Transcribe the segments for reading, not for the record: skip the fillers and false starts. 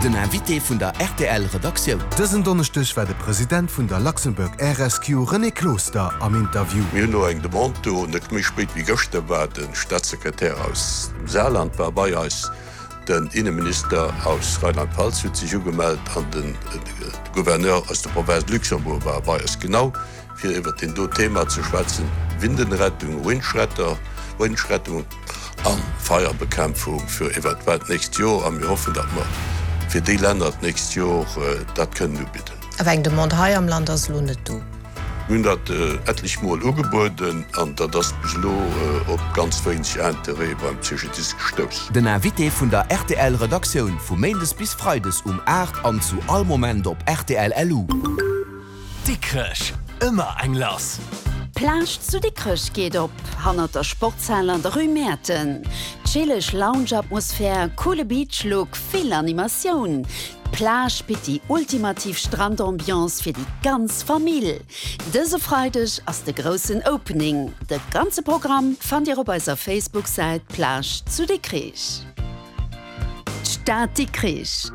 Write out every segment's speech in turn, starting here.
Den Invité vun der rtl Redaktioun. Dësen Donneschdeg war de President vun der Luxembourg Air Rescue René Closter am Interview. Mir hunn elo eng Demande do. Net méi spéit wéi gëschter war de Staatssekretär aus dem Saarland war bei eis, den Inneminister aus Rheinland-Pfalz huet sech ugemellt an de Gouverneur aus der Province Luxembourg war bei eis. Genau fir iwwert deen do Thema ze schwätzen, Windenrettung, Windschretter, Windschrettung a Feierbekämpfung fir eventuell d'nächst Jor. A mir hoffen, datt mer fir déi Länner d'nächst Jor dat kënnen ubidden. Awer eng Demande hei am Land ass elo net do. Mir hunn dat etlech Mol ugebueden an dat ass bis elo op ganz wéineg Interêt beim CGDIS gestouss. Den Invité vun der rtl Redaktioun vu Méindes bis Freides um 8 an zu all Moment op rtl LU. Dikrech, ëmmer eng lass! D'Plage zu Dikrech geet op, hannert der Sportshal an der Rue Mäerten. Chilleg Lounge-Atmosphär, coole Beach-Look, vill Animatioun. D'Plage bitt déi ultimativ Strandambiance fir déi ganz Famill. Dëse Freideg ass de groussen Opening. De ganze Programm fannt Dir op eiser Facebook-Säit Plage zu Dikrich. D'Stad Dikrich,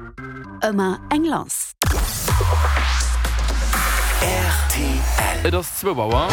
ëmmer eng lass. Rtl. Et ass zwou Auer.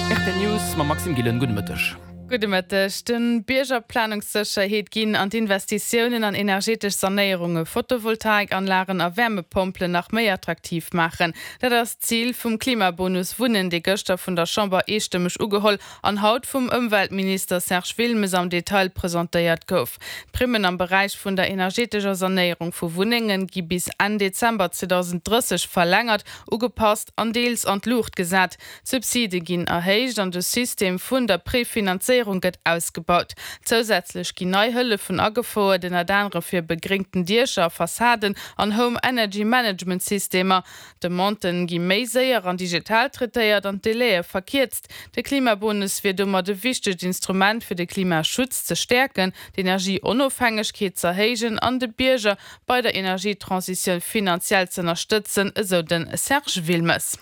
Rtl News mam Maxime Gillen. Gudde Mëtteg. Gudde Mëtteg. De Bierger Planungssécherheet ginn an d'Investitiounen an energetesch Sanéierunge, Photovoltaikanlagen a Wärmepompelen nach méi attraktiv maachen. Dat ass d'Zil vum Klimabonus Wunnen, dee gëschter vun der Chamber eestëmmeg ugeholl an haut vum Ëmweltminister Serge Wilmes am Detail presentéiert gouf. D'Primmen am Beräich vun der energetescher Sanéierung vu Wunnenge gi bis Enn Dezember 2030 verlängert, ugepasst an deels an d'Luucht gesat. D'Subside ginn erhéicht an de System vun der Prefinanzéierung gëtt ausgebaut. Zousätzlech ginn nei Hëllefen agefouert, ënnert anerem fir begréngten Diecher a Fassaden an Home Energy Management Systemer. D'Demanden gi méi séier an digital traitéiert an d'Délaië verkierzt. De Klimabonus wier domat e wichtegt Instrument fir de Klimaschutz ze stäerken, d'Energieonofhängegkeet z'erhéijen an de Bierger bei der Energietransitioun finanziell z'ënnerstëtzen, esou de Serge Wilmes.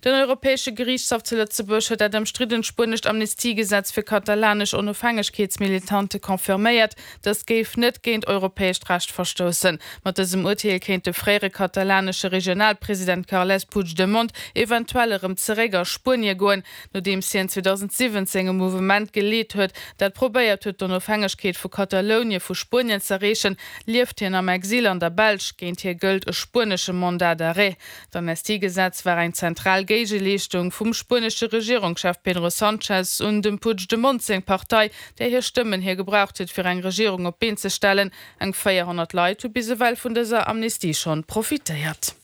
Den Europäesche Geriichtshaff zu Lëtzebuerg huet dat ëmstriddent spuenescht Amnestiegesetz fir katalanesch Onofhängegkeetsmilitante confirméiert. Dëst géif net géint europäescht Recht verstoussen. Mat dësem Urteel kéint de fréiere katalanesche Regionalpresident Carles Puigdemont eventuell erëm zeréck a Spuenie goen, nodeems hien 2017 e Mouvement geleet huet, dat probéiert huet d'Onofhängegkeet vu Katalounie vu Spuenien z'erreechen, lieft hien am Exil an der Belsch. Géint hie gëllt e spuenesche Mandat d'arrêt. D'Amnestiegesetz war eng zentral Géigeleeschtung vum spuenesche Regierungschef Pedro Sanchez un dem Puigdemont seng Partei, där hir Stëmmen hie gebraucht huet fir eng Regierung op d'Been ze stellen. Eng 400 Leit hu bis ewell vun dëser Amnestie schonn profitéiert.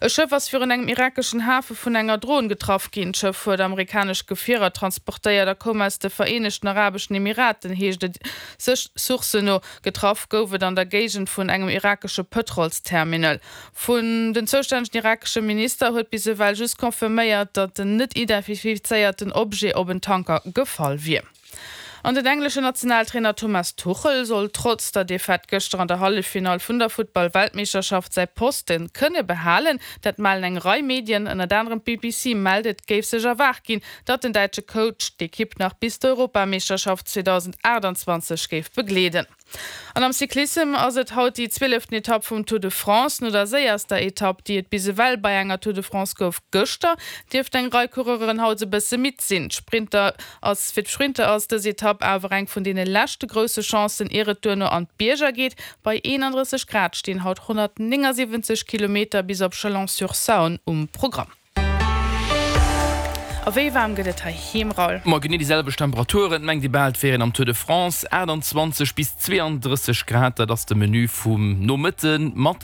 E Schëff ass virun engem irakeschen Hafe vun enger Dron getraff ginn. D'Schëff huet amerikanesch Gefierer transportéiert a koum aus de Vereenegten Arabeschen Emiraten, heescht et sech Sourcen no. Getraff gouf et an der Géigend vun engem irakesche Pëtrolsterminal. Vun den zoustännegen irakesche Minister huet bis ewell just confirméiert, datt en net identifizéierten Objet op en Tanker gefall wier. An den engleschen Nationaltrainer Thomas Tuchel soll trotz der Defaite gëschter an der Halleffinall vun der Futtball-Weltmeeschterschaft säi Poste kënne behalen. Dat mellen eng Rei Medien, ënnert anerem d'BBC mellt, et géif sech erwaart ginn, datt den däitsche Coach d'Ekipp nach bis d'Europameeschterschaft 2028 géif begleeden. An am Cyclissem ass et haut déi zwieleften Etapp vum Tour de France. No der séierster Etapp, déi et bis ewell bei enger Tour de France gouf, gëschter, dierft eng Rei Coureuren haut e bësse midd sinn. D'Sprinter ass Fir d'Sprinter ass dës Etapp awer eng vun deene leschte grousse Chancen, ier et duerno an d'Bierger geet. Bei 31 Grad stinn haut 179 Kilometer bis op Chalon-sur-Saône um Programm. A wéi waarm gëtt et heiheem, Raoul? Ma genee déi selwecht Temperaturen, et mengt ee bal et wier een am Tour de France. 28 bis 32 Grad, dat ass de Menu vum Nomëtte mat.